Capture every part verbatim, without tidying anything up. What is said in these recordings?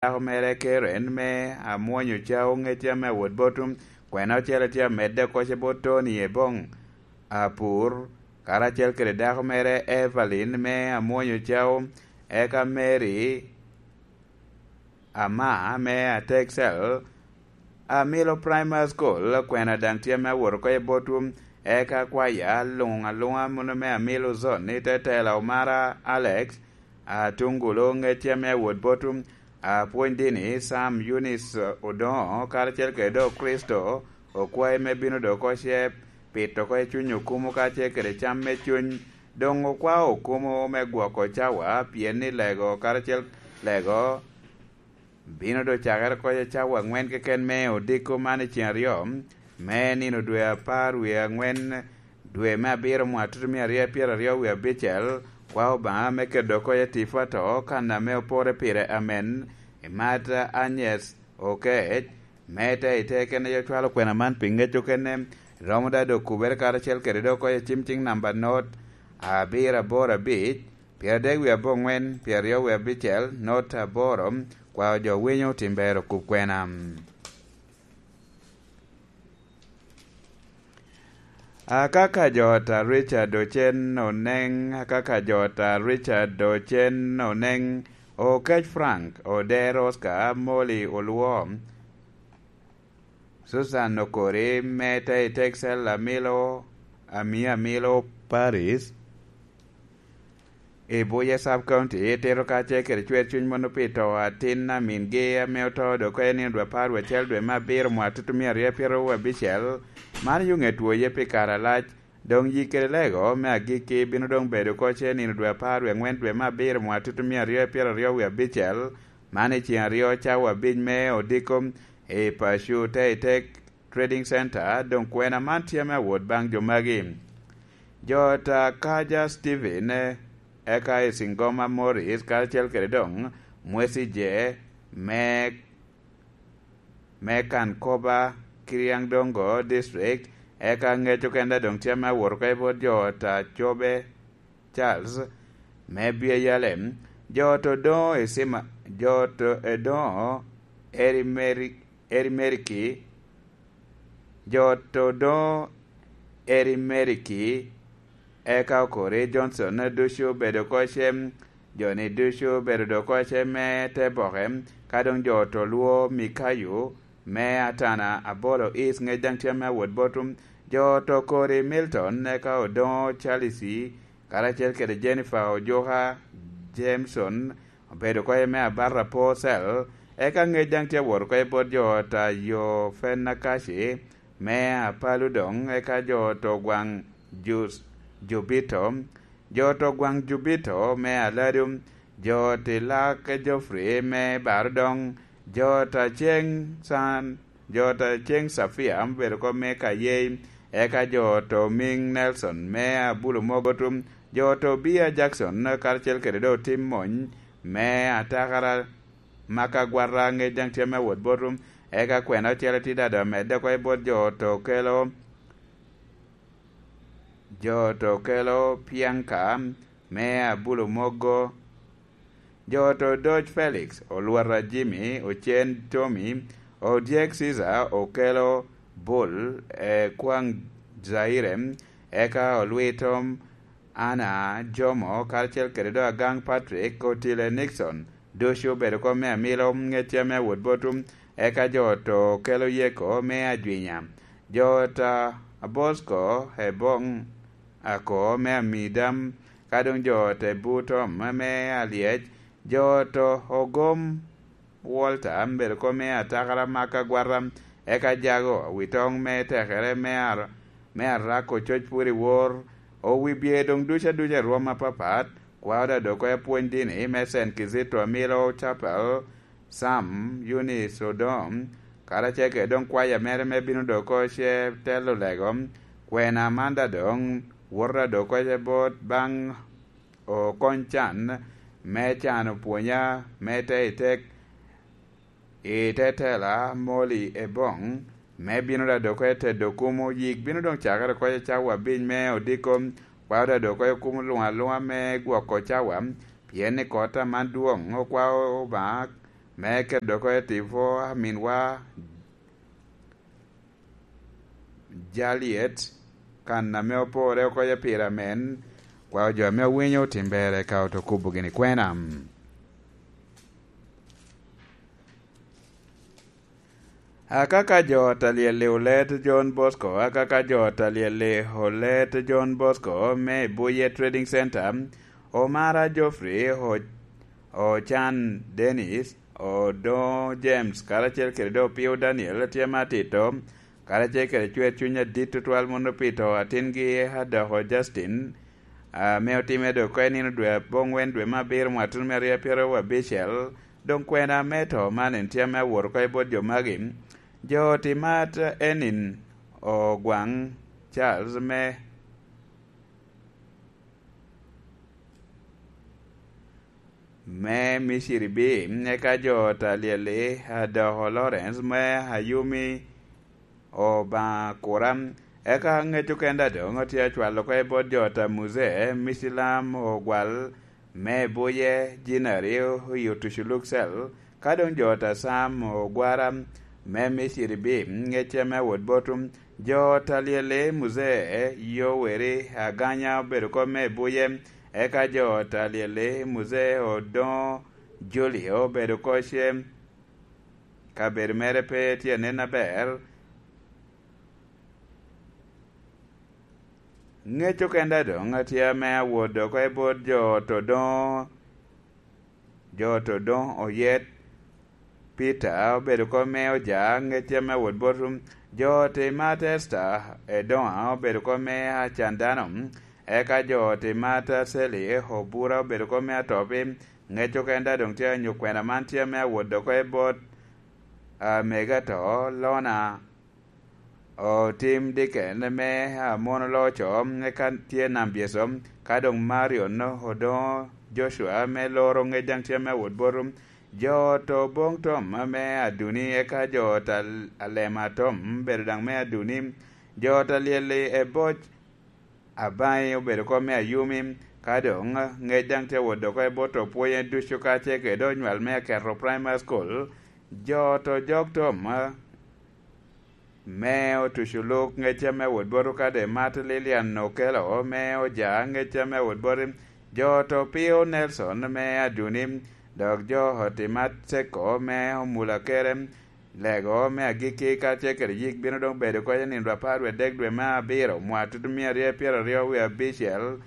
dako mere Karen me Amwonyo Cao, ŋecce ame awot bot kwena ocele tye amedde oko ce bot Tony Ebong Apur, karacel kede dako mere Evelyn me Amwonyo Cao, eka Mary Ama me Atexel, Amilo Primary School. Kwena daŋ tye ame awot oko i botwu, eka kwaya luŋ aluŋa muno me Amilo Zone i te tela Omara Alex, Atungulu, ŋecce ame awot botwu, apwony dini Sam Eunice Odoŋo, karacel kede dok Kricito okwae me bino dok oko ce pito oko i cuny okumo kacel kede cam me cuny. Doŋ okwao okumo me gwoko cawa, pien ni lego karacel lego bino doŋ cakere oko i cawa aŋwen keken me odiko man i ceng aryo, me nino dwe apar wie aŋwen, dwe me abiro mwaka tutumia aryo pyeraryo wie abicel. Kwa Obaŋa me keto oko i tipo ato kan ame opore pire amen, i Mad Agnes Okec, me te i te kene yo cwalo kwena man pi ŋec okene, romo da doŋ kubere karacel kede dok oko i cim cing namba not abiro aboro abic, pyeradek wie aboŋwen, pyeraryo wie abicel, not aboro. Kwa jo winyo tim ber okub kwena. Akaka jot a Richard Ocen Oneŋ, akaka jot a Richard Ocen Oneŋ, Okec Frank, Oder Oscar, Molly Olwo, Susan Okori, me te i Texel, Amilo, Ami Amilo Paris, i Buye Sub County, itito kacel kede cwer cuny mono pi to atin a mingi ame oto dok en i dwe apar wie acel dwe me abiro mwaka tutumia aryo pyeraryo wie abicel. Man yo ŋet woye pi kare alac. Doŋ yik kede lego me agikki bino doŋ bedo oko ce nino dwe apar wie aŋwen dwe me abiro mwaka tutumia aryo pyeraryo wie abicel, man i ceng aryo cawa abic me odiko i paco te i te Trading Center. Doŋ kwena man tye ame awot baŋ jo magi. Jo ta Kaja Steven, eka i Singoma Morris, karacel kede doŋ Mwesi Je me, me Kankoba, Kiriaŋdongo District, eka ŋec okenda doŋ tye ame awot oko i bot jo ta Cobe Charles me Bia Yalem, jo to doŋo i Sima, jo to edoŋo Eri Meri, Eri Meriki, jo to doŋo Eri Meriki, eka Okori Johnson ducu obedo oko cem, jo-ni ducu obedo dok oko cem me te boke, ka doŋ jo to lwo Mikayo me Atana Abolo East ŋec daŋ tye ame awot botwu, jo to Okori Milton, eka Odoŋo Charles, karacel kede Jennifer Ojuka Jameson, obedo oko me Abata Purcell, eka ŋec daŋ tye awot oko i bot jo ta yo Fenakaci me Apalu doŋ, eka jo to Gwaŋ Jus-, Jubito, jo to Gwaŋ Jubito me Aladu, jo Tilak Geoffrey me Barodoŋ, jo ta Ceŋ San, jo ta Ceŋ Safia obedo oko me Kayei, eka jo to Miŋ Nelson me Abulu Mogotum, jo to Bia Jackson, karacel kede do tim mony me atakara maka agwata ŋec daŋ tye me wot botwu, eka kwena ocele tye dado amedde oko i bot jo to kelo, jo to kelo Pianka me Abulu Mogo, jo to Doc Felix, Olwata Jimmy, Ocen Tommy, Odyek Caesar, Okelo Bull, e Kwaŋ Zaire, eka Olwitom Anna Jomo, karacel kede do Agaŋ Patrick, Otile Nixon, ducu obedo oko me Amilo, ŋecce me wot botwu, eka jo to kelo Yeko me Ajwinya, jo ta Abosco, Ebong Ako me Amidam, ka doŋ jo te Butom me Alyec, jo to Ogom Walter, obedo oko me atakara maka agwata, eka Jago, Awitoŋ me tekere me ar-, me Arako coc pwod i wor, owi bye doŋ duc aduc i rwom apapat, kwao da dok oko apwony dini me Saint Kizito Amilo Chapel, Sam Eunice Odom, karacel kede doŋ kwaya mere me bino dok oko ce telo lego, kwena man da doŋ woto da dok oko ce bot baŋ okony can me cano pwonya me te i tek i te tela Molly Ebong, me bino da dok oko i tedo kumo yik bino doŋ cakere oko i cawa abic me odiko, kwao da dok oko i kumo luŋ aluŋa me gwoko cawa, pien ni kota man dwoŋ okwao Obaŋa me keto oko i tipo, aminwa Jaliet, kan ame opore oko i pire amen, kwao jo ame owinyo otim ber eka oto kubo gini kwena. Akaka jo ot a lyel i Olet John Bosco, akaka jo ot a lyel i Olet John Bosco me i Buye Trading Center, Omara Geoffrey, O-, Ocan Dennis, Odoŋo James, karacel kede doŋ Opio Daniel tye me atito, karacel kede cwer cuny adit tutwal mono pi to atingi Adoko Justin, ame otimme doŋ oko i nino dwe aboŋwen dwe me abiro mwaka tuno me aryo pyeraryo abicel, doŋ kwena me to man en tye ame awot oko i bot jo magi. Jo ot i mat en in Ogwaŋ Charles me, me Miciri B, eka jo ot a lyel-li, Adoko Lawrence me Ayumi Obaŋa Kura, eka ŋec okenda doŋ otye acwalo oko i bot jo ot a Muzee Micilam Ogwal me Buye, Jinari i Otucu Luksel, ka doŋ jo ot a Sam Ogwara me Miciri B, ŋecce me wot botum, jo ot a lyel-li Muzee Yoweri Aganya obedo oko me Buye, eka jo ot a lyel-li Muzee Odoŋo Julio obedo oko ce, kabedo mere pe tye anen aber. Ŋec okenda doŋ atye ame awot oko i bot jo ot Odoŋo, jo ot Odoŋo Oyet. Peter obedo oko me Oja, ŋec ame awot bot jo ot i mat Esther Edoŋa obedo oko me Acandano, eka jo ot i mat Sally Obura obedo oko me Atopi. Ŋec okenda doŋ tye anyo kwena man tye ame awot oko i bot, ah, mega to, Lona Otim Diken me Amono Loco, eka tye Nambyeco, ka doŋ Marion Odoŋo Joshua me Loro ŋec daŋ tye ame awot boto. Jo ot Oboŋ Tom me Aduni, eka jo ot Al-, Alema Tom bedo daŋ me Aduni. Jo ot a lyel-li Eboc Abaŋi obedo oko me Ayumi, ka doŋ ŋec daŋ tye awot oko i bot opwonye ducu kacel kede onywal me Aketo Primary School. Jo ot Ojok Tom me Otucu Luk, ŋec ame awot bot okade mat Lilian Okelo me Oja, ŋec ame awot bot jo ot Opio Nelson me Aduni, dok jo ot i mat Ceko me Omula Kere. Lego me agikki kacel kede yik bino doŋ bedo oko i nino dwe apar wie dek dwe me abiro, mwaka tutumia aryo pyeraryo wie abicel.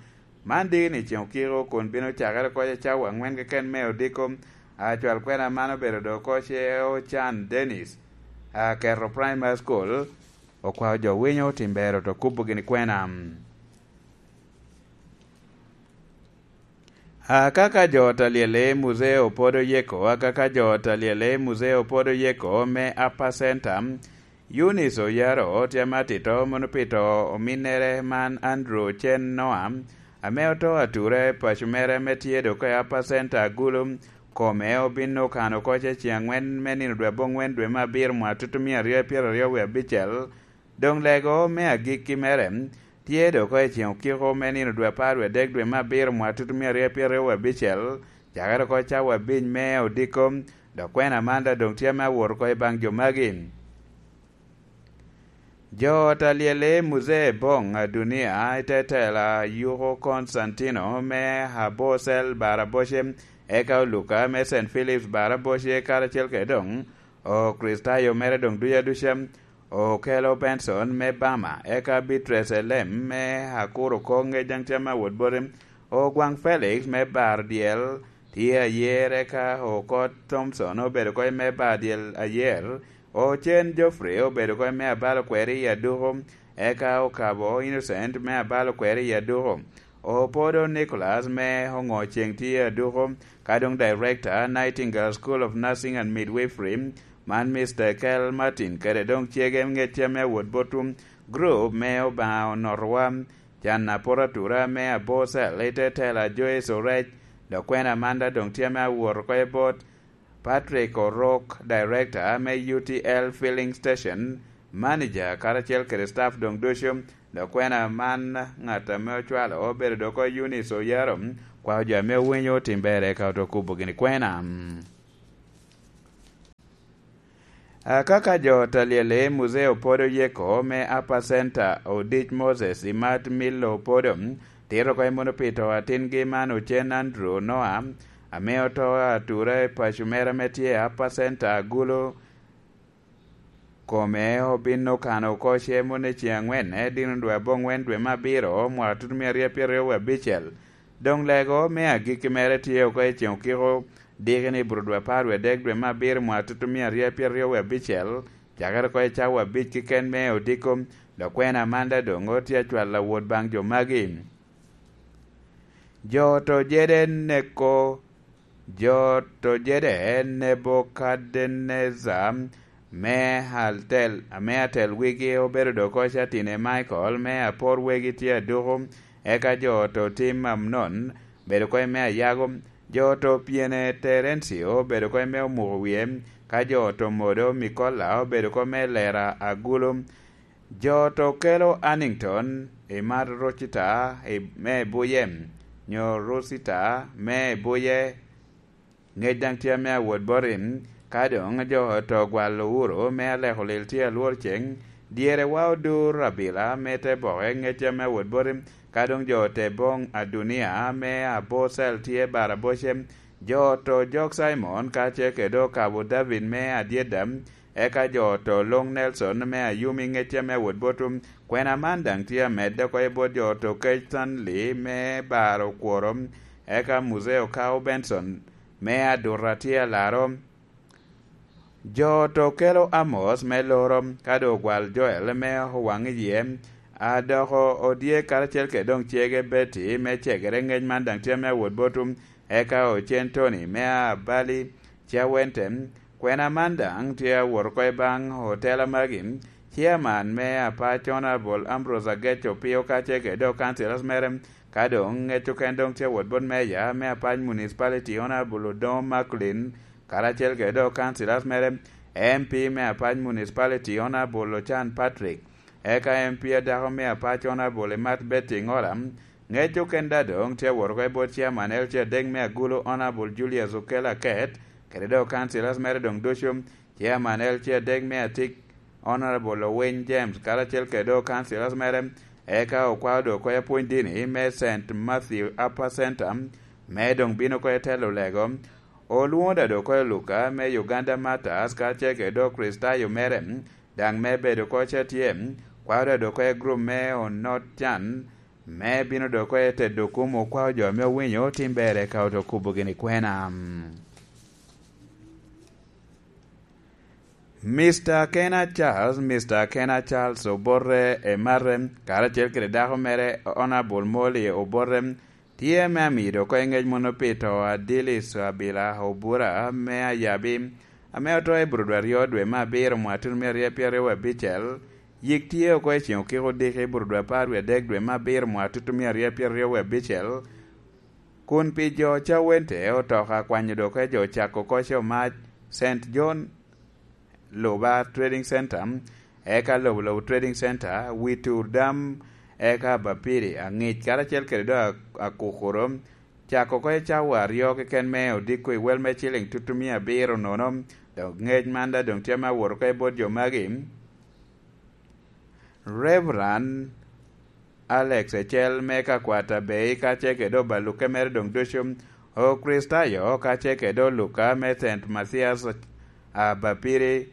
Man diki ni ceŋ okiko kun bino cakere oko i cawa aŋwen keken me odiko. Acwal kwena man obedo doŋ oko ce Ocan Dennis, Aketo Primary School, okwao jo winyo otim bero to kubo gini kwena. Akaka jo ot a lyel-li Muzee Opodo Yeko, akaka jo ot a lyel-li Muzee Opodo Yeko me Upper Center, Eunice Oyaro tye ame atito mono pi to ominnere man Andrew Cen Noa, ame oto atura i paco mere ame tye doŋ oko i Upper Center Agulu, kome obin okano oko ce ceŋ aŋwen me nino dwe aboŋwen dwe me abiro mwaka tutumia aryo pyeraryo wie abicel. Doŋ lego me agikki mere tye doŋ oko i ceŋ okiko me nino dwe apar wie dek dwe me abiro mwaka tutumia aryo pyeraryo wie abicel, cakere oko cawa abic me odiko, dok kwena man daŋ doŋ tye ame awot oko i baŋ jo magi. Jo ot a lyel-li Muzee Boŋ Adunia i te tela Yuko Konstantino me Abocel Baraboce, eka Oluka me Saint Philip's Baraboce, karacel kede doŋ Okricitayo mere doŋ duc aduca, Okelo Benson me Bama, eka Beatrice Elem me Akuru Koŋ, ŋec daŋ tye ame awot boti, Ogwaŋ Felix me Bar Dyel, tye ayer, eka Okot Thompson obedo oko me Bar Dyel ayer, Ocen Geoffrey obedo oko me Abalo Kweri i Aduko, eka Okabo Innocent me Abalo Kweri i Aduko, Opodo Nicholas me Oŋo Ceŋ tye Aduko, ka doŋ Director, Nightingale School of Nursing and Midwifery, man Mister Kel Martin, kede doŋ cege ŋecce me wot botwu, group me Obaŋa Onotowa, can apot atura me Abocel, i te tela Joyce Orec, dok kwena man daŋ doŋ tye ame awot oko i bot Patrick Orok, Director me U T L Filling Station, Manager, karacel kede staff doŋ ducu, dok kwena man ŋat ame ocwalo obedo doŋ oko Eunice Oyaro, kwao jo ame owinyo otim ber eka oto kubo gini kwena. Akaka jo talyel i Muzeo Podo Yeko me Upper Center, Odic Moses i Mat Millo Podo, tito oko i Munupi to atingi man ocen Andrew Noah, ame oto atura i paco mere ame tye i Upper Center Agulu, kome obin okano oko cemo ni ceŋ angwen, dino dwe aboŋwen dwe me abiro, mwaka tutumia aryo pyeraryo wie abicel. Doŋ lego me agikki mere tye oko i ceŋ okiko, diki ni buro dwe apar wie adek dwe me abiro, mwaka tutumia aryo pyeraryo wie abicel, cakere oko i cawa abic keken me odiko, dok kwena Amanda doŋ otye acwalo awot baŋ jo magi. Jo to jede neko, jo to jede Nebukadnecar me atel, ame atel wigi obedo doko Catine Michael, me apor wegi tye aduku, eka jo to tim Amnon bedo koy me ayago, jo to pyene Terencio bedo koy me omuko wie, ka jo to modo Mikola obedo koy me lera agulu, jo to kelo Annington i mar Rocita i, me buye, nyo Rosita me buye, ŋec daŋ tye ame awot boti, ka doŋ jo to gwalo uro me aleko lil tye alwor ceŋ, dyere wa odur abila me te boke ŋec ame awot boti, ka doŋ jo te boŋ Adunia me abocel tye bara boce, jo to jok Cimon ka ce kede okabo David me adyeda, eka jo to luŋ Nelson me ayumi ŋec ame awot botu, kwena man daŋ tye amedde oko i bot jo to kec Stanley me baro okworo, eka Muzeo Kao Benson me aduta tye alaro. Jo to kelo Amos me loro, ka doŋ ogwal Joel me owaŋ i yie, a dok odye karacel kede doŋ cege Betty me cegere ŋec man daŋ tye ame awot botu, eka ocen Tony me abali Cawente, kwena man daŋ tye awot oko i baŋ otela magi, Chairman me apac Honorable Ambrose Ageco Opio ka ce kede doŋ councillors mere, ka doŋ ŋec oken doŋ tye awot bot Mayor me apac Municipality Honorable Odongo Macklin, karacel kede doŋ councillors mere, M P me apac Municipality Honorable Ocan Patrick, eka M P adako me apac Honorable Imat Betty Ngola, ŋec oken da doŋ tye awot oko i bot Chairman L C adek me Agulu Honorable Julius Okel Aket, kede doŋ councillors mere doŋ ducu, Chairman L C adek me Atik, Honorable Owiny James, karacel kede doŋ councillors mere, eka okwao doŋ oko i apwony dini me Saint Matthew Upper Center, me doŋ bino oko i telo lego. Olwoŋo da doŋ oko i Luka me Uganda Martyrs, karacel kede doŋ Kricitayo mere, daŋ me bedo oko ca tye, kwao da doŋ oko i group me Onot Can, me bino doŋ oko i tedo kumo kwao jo ame owinyo tim ber eka oto kubo gini kwena. Mister Kena Charles, Mister Kena Charles Obote Emate, karacel kede dako mere Honorable Molly Obote, tye me amido oko i ŋec mono pi to a Dilis Abila Obura me Ayabi, ame oto i Burudwa aryo dwe me abiro mwaka tuno me aryo pyeraryo abicel, yik tye oko i ceŋ okiko odiki Burudwa apar wie adek dwe me abiro mwaka tuno me aryo pyeraryo abicel, kun pi jo Cawente otoka kwanyo doke jo cako oko Comac, Saint John, Luba Trading Center, eka Lobolobo Trading Center, Witur Dam, eka Bapiri, Aŋic, karacel kede do Akukuro, cako oko i cawa aryo keken me odiko i wel me ciliŋ tutumia abiro nono, dok ŋec man da doŋ tye me awot oko i bot jo magi. Reverend Alex Ecel me Kakwata Bay, ka ce kede obaluke mere doŋ ducu, Okricitayo, ka ce kede oluka me Saint Mathias, a, Bapiri,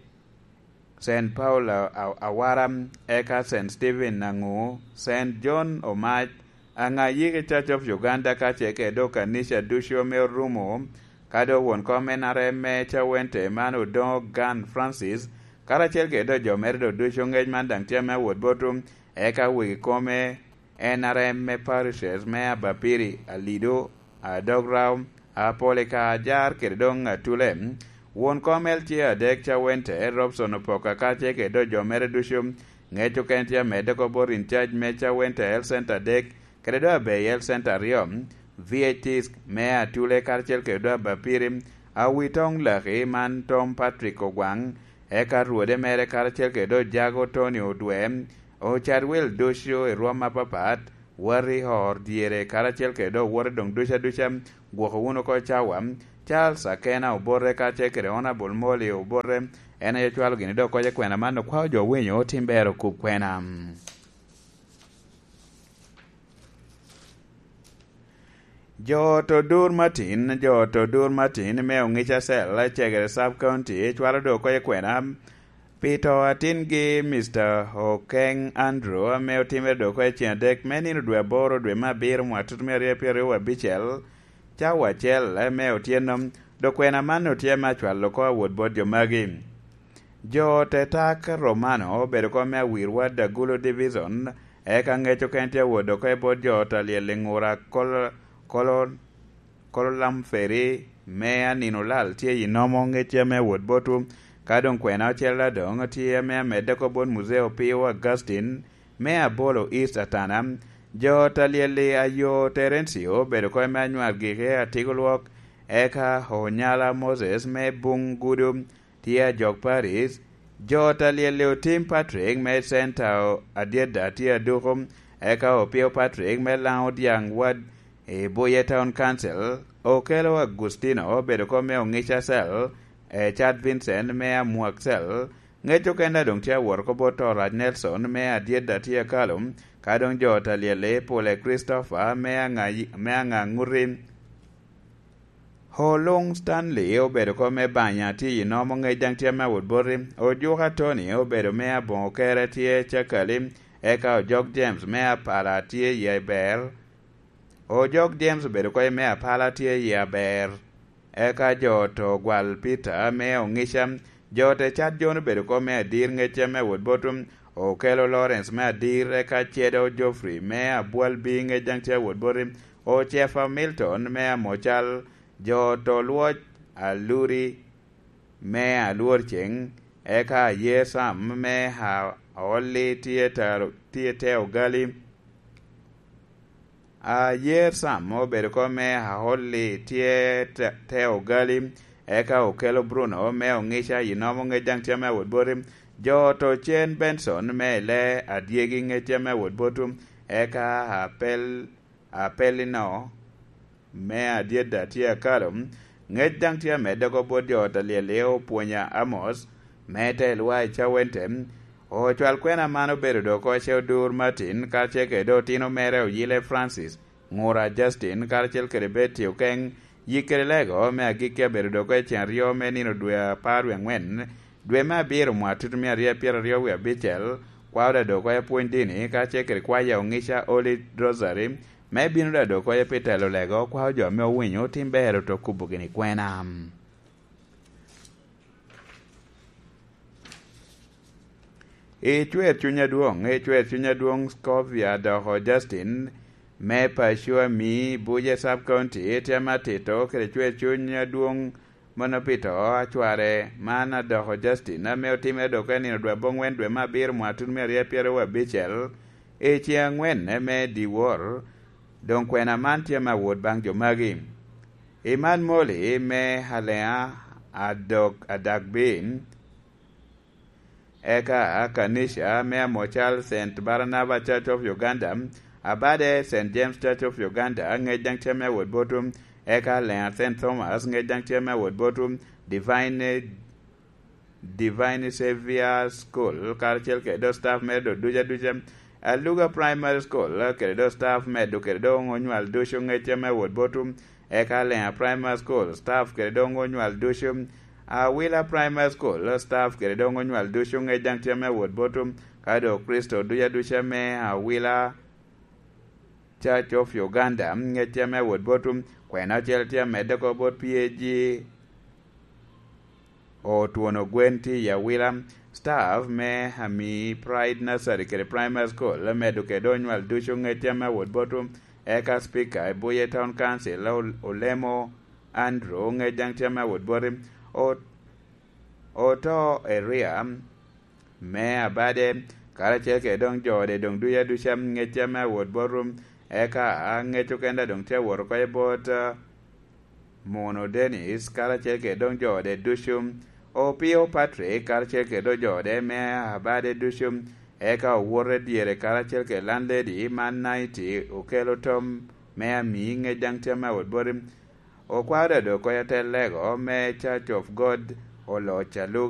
Saint Paul a, a, Awara, eka Saint Stephen Aŋu, Saint John Omac, Aŋayiki Church of Uganda, ka ce kede okanica ducu ame orumo, ka doŋ won kom N R M me Cawente man Odoŋo Gan Francis, karacel kede doŋ jo mere doŋ ducu ŋec man daŋ tye ame awot botu, eka wegi kome N R M me parishes me Abapiri, Alido, Adograu, Apolika, Ajar kede doŋ Atule. Won kom L C A adek Cawente, Robson Opoka, ka ce kede doŋ jo mere ducu, ŋec oken tye amedde oko bot in charge me Cawente Health Center adek, kede doŋ Abei Health Center aryo, V H Ts me Atule karacel kede doŋ Abapiri, Awitoŋ Laki man Tom Patrick Ogwaŋ, eka rwode mere karacel kede doŋ Jago Tony Odwe, Ocadwel ducu i rwom apapat, wot i or dyere karacel kede doŋ owote doŋ duca duca, gwoko wunu oko cawa, Charles Akena Obote kacel kede Honourable Molly Obote, en aye ocwalo gini dok kocce kwena man, okwao jo winyo otim ber okub kwena. Jo ot Odur Martin, jo ot Odur Martin me Ongica Cell, Cegere Sub County, cwalo dok kocce kwena pi to atingi Mister Okeng Andrew, ame otimere dok kocce ceng adek me nino dwe aboro dwe me abiro mwaka tutumia aryo pyeraryo wa abicel, cawa acel me otyeno. Dok kwena man otye me acwalo oko awot bot jo magi. Jo ot Etak Romano obedo oko me Awirwa Dagulo Division, eka ngec okene tye awot oko i bot jo ot Alyel i Ngura Kolo, Kolo, Kololam Ferry me Anino Lal tye i nomo ngecci ame awot botwu. Ka doŋ kwena ocel adoŋ tye ame amedde oko bot Muzeo Pio Augustine me Abolo East Atana. Jo ot Alyel i Ayo Terencio obedo oko me Anywar Gike Atigo Lwok, eka Onyala Moses me Buŋ Gudo tye ajok Paris. Jo ot Alyel i Otim Patrick me Center Adyeda tye aduko, eka Opio Patrick me Laŋo Dyaŋ Wad i Buye Town Council. Okelo Agustino obedo oko me Ongica Cell, e Chad Vincent me Amwak Cell. Ngec okene doŋ tye awot oko bot Orac Nelson me Adyeda tye akalo, ka doŋ jo ot Alyel i Pule Christopher me Aŋa, me Aŋaŋuti. Oluŋ Stanley obedo oko me Banya tye i nomo ngec daŋ tye me awot boti. Ojuka Tony obedo me Aboŋo Kere tye Cakali, eka Ojok James me Apala tye i Aber. Ojok James obedo oko me Apala tye i Aber. Eka jo ot Ogwal Peter me Ongica. Jo ot Ecat John obedo oko me Adir ngec tye me awot boti. Okelo Lawrence me Adir, eka Cedo Geoffrey me Abwal B ngec daŋ tye awot boti. Ocefa Milton me Amocal. Jo ot Olwoc Aluri me Alwor Ceŋ, eka Ayer Sam me A-, Aolli tye taro, tye te Ogali. Ayer Sam obedo oko me Aolli tye te, te Ogali, eka Okelo Bruno me Ongica i nomo ngec daŋ tye me awot boti. Jo ot Ocen Benson me Ile Adyegi ngec tye me awot boti, eka Apel, Apelino me Adyeda tye akalo. Ngec daŋ tye amedde oko bot jo ot Alyel i Opwonya Amos, me Telwa i Cawente. Ocwal kwena man obedo dok oko Odur Martin, karacel kede otino mere Oyile Francis, Ŋura Justin, karacel kede Betty Okeng. Yik kede Lego me agikki abedo dok oko i ceŋ aryo me nino dwe apar wie aŋwen, dwe me abiro mwaka tutumia aryo pyeraryo wie abicel. Kwao daŋ dok oko apwony dini, karacel kede kwaya Ongica Holy Rosary, me bino daŋ dok oko pi telo Lego, kwao jo ame owinyo otim ber oto kubo gini kwena. I cwer cuny adwoŋ, i cwer cuny adwoŋ Scovia doko Justin me Pacua Mi Buje Sub County, tye ame atito kede cwer cuny adwoŋ mano pi to acware man adoko Justin, ame otimere dok i nino dwe aboŋwen dwe me abiro mwaka tutumia aryo pyeraryo abicel, i ceŋ aŋwen me dyewor. Doŋ kwena man tye ame awot baŋ jo magi. Iman Moli me Alea Adok Adagbin, eka Kanisha me Amocal Saint Barnaba Church of Uganda, Abade Saint James Church of Uganda, ngec daŋ tye me awot botwu, eka Alea Saint Thomas, ngec daŋ tye me awot botwu, Divine Divine Savior School, karacel kede do staff mere do duca duca. Aluga Primary School, kede do staff medo kede do onywal ducu ngecce me wot botu. Eka Lenga Primary School, staff kede do onywal ducu. Awila Primary School, staff kede do onywal ducu ngec daŋ tye me wot botu. Ka do Kricito duca duca me Awila Church of Uganda, ngecce me wot botu. Kwena ocel tye amedde oko bot P A G. Otwono gwen tye i Awila. Staff me Ami Pride Nursery kede Primary School, medo kede onywal ducu ngecce me wot botu. Eka Speaker i Buye Town Council, Ol-, Olemo Andrew, ngec daŋ tye me wot botu. O-, Oto Eria me Abade, karacel kede doŋ jo ode doŋ duca duca ngecce me wot botu. Eka ngec okene doŋ tye awot oko i bot, ah, Muno Dennis, karacel kede doŋ jo ode ducu, Opio Patrick, karacel kede doŋ jo ode me Abade ducu, eka owote dyere, karacel kede landlady man Naiti, okelo tom me Ami, ngec daŋ tye me wot bote. Okwaro dok konya te lego me Church of God oloc aluga.